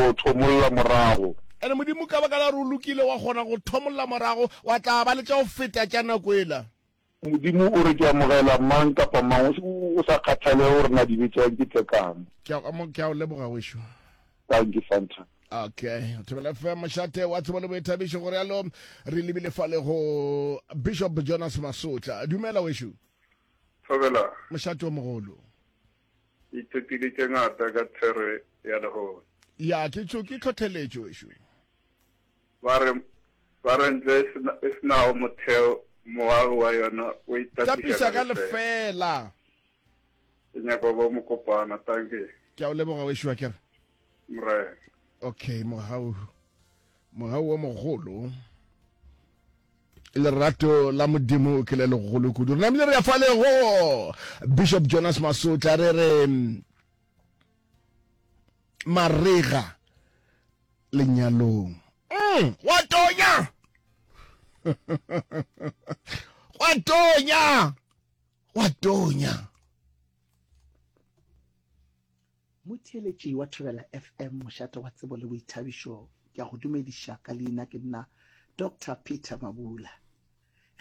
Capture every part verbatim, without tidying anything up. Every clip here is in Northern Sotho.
go thomolla morago. Ene Modimo ka baka la gore o lokile wa kgona go thomolla morago wa tla ba le tša go feta tša nako ela. Modimo o re ke amogela mang kapa mang o sa kgathale gore na dibe tša ke tše kang. Ke a ke a o leboga wešo. Dankie Fanta. Okay, Thobela F M mošate wa tsebo le boithabišo go realo re lebile fale go Bishop Jonas Masotla. Dumela wešo. Thobela. Mošate o mogolo. Ithutile tše ngata ka thero ya lehono. Ya ke tšo ke tlhotlheletšo wešo. Ba re ba re ntlo e sena e senago motheo moagi wa yona o itapiša Tapiša ka ka lefeela. lefeela. Ke nyaka go ba mokopana, dankie. Ke a o leboga wešo wa kere. Morena. Okay, mogau mogau o mogolo lerato la Modimo ke le legolo kudu. Re namile re ya fale go Bishop Jonas Masotla re re marega lenyalong. Mm, wa tonya. Wa tonya. Wa tonya. Motheeletši wa Thobela F M, mošate wa tsebo le boithabišo, ke a go dumediša ka leina ke nna Doctor Peter Mabula.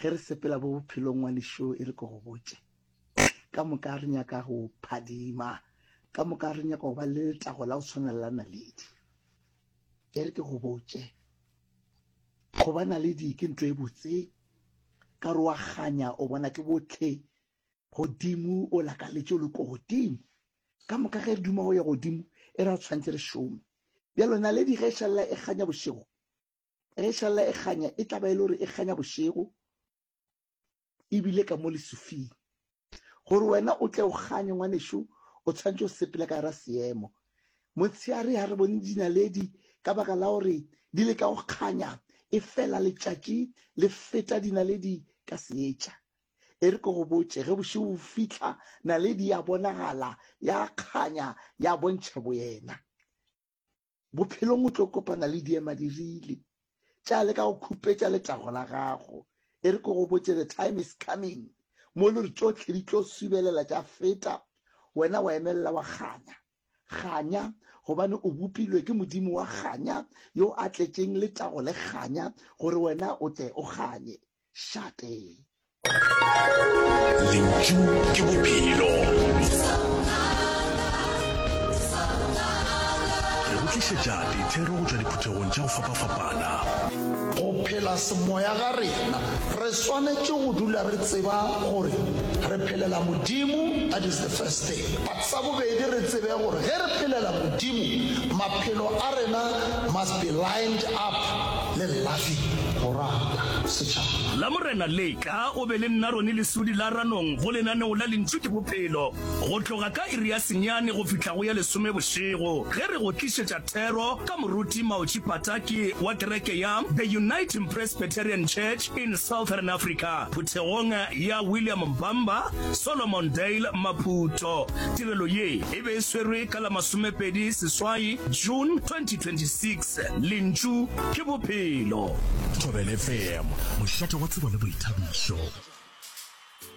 Ge re sepela bo bophelong ngwanešo e re ke go botše, ka moka re nyaka go phadima, ka moka re nyaka go ba le letago la go tshwana le la naledi. E re ke go botše, go ba naledi ke ntho e botse, ka re wa kganya o bona ke bohle godimo o lakaletše o le ko godimo. Ka moka ge re duma go ya godimo e ra tshwanetse re šome. Bjalo naledi ge e šalela e kganya bošego, ge e šalela e kganya e tla ba e le gore e kganya bošego ebile ka mo lesufing. Gore wena o tle o kganye ngwanešo o tshwanetse o sepele ka gara seemo. Motshehare ha re bone dinaledi ka baka la gore di le ka go kganya e fela letšatši le feta dinaledi ka seetša. E re ke go botše ge bošego bo fihla naledi ya bonagala ya kganya ya bontšha boyena. Bophelong o tlo kopana le diemadirile tša leka go khupetša letago la gago. E re ke go botše the time is coming mo le re tšohle di tlo subelela tša feta wena wa emelela wa kganya. Kganya gobane o bopilwe ke Modimo wa kganya yo a tletšeng letago le kganya gore wena o tle o kganye. Šate. Lentšu ke bophelo. Re go tlišetša dithero go tšwa diphuthegong tša go fapafapana. Go phela semoya ga rena, re swanetše go dula re tseba gore re phelela Modimo, that is the first thing. But sa bobedi re tsebe gore ge re phelela Modimo, maphelo a rena must be lined up le loving, go rata setšhaba. Lamorena le tla o be le nna Ronnie Lesudi la Ranong go lenaneo la Lentšu ke Bophelo go tloga ka iri ya senyane go fihla go ya lesome bošego ge re go tlišetša thero ka Moruti Maochi Pataki wa kereke ya The Uniting Presbyterian Church in Southern Africa phuthegong ya William Mbamba, Solomondale, Maputo. Tirelo ye e be e swerwe ka la masomepedi seswai June twenty twenty six. Lentšu ke Bophelo. Thobela F M, mošate wa tsebo le boithabišo.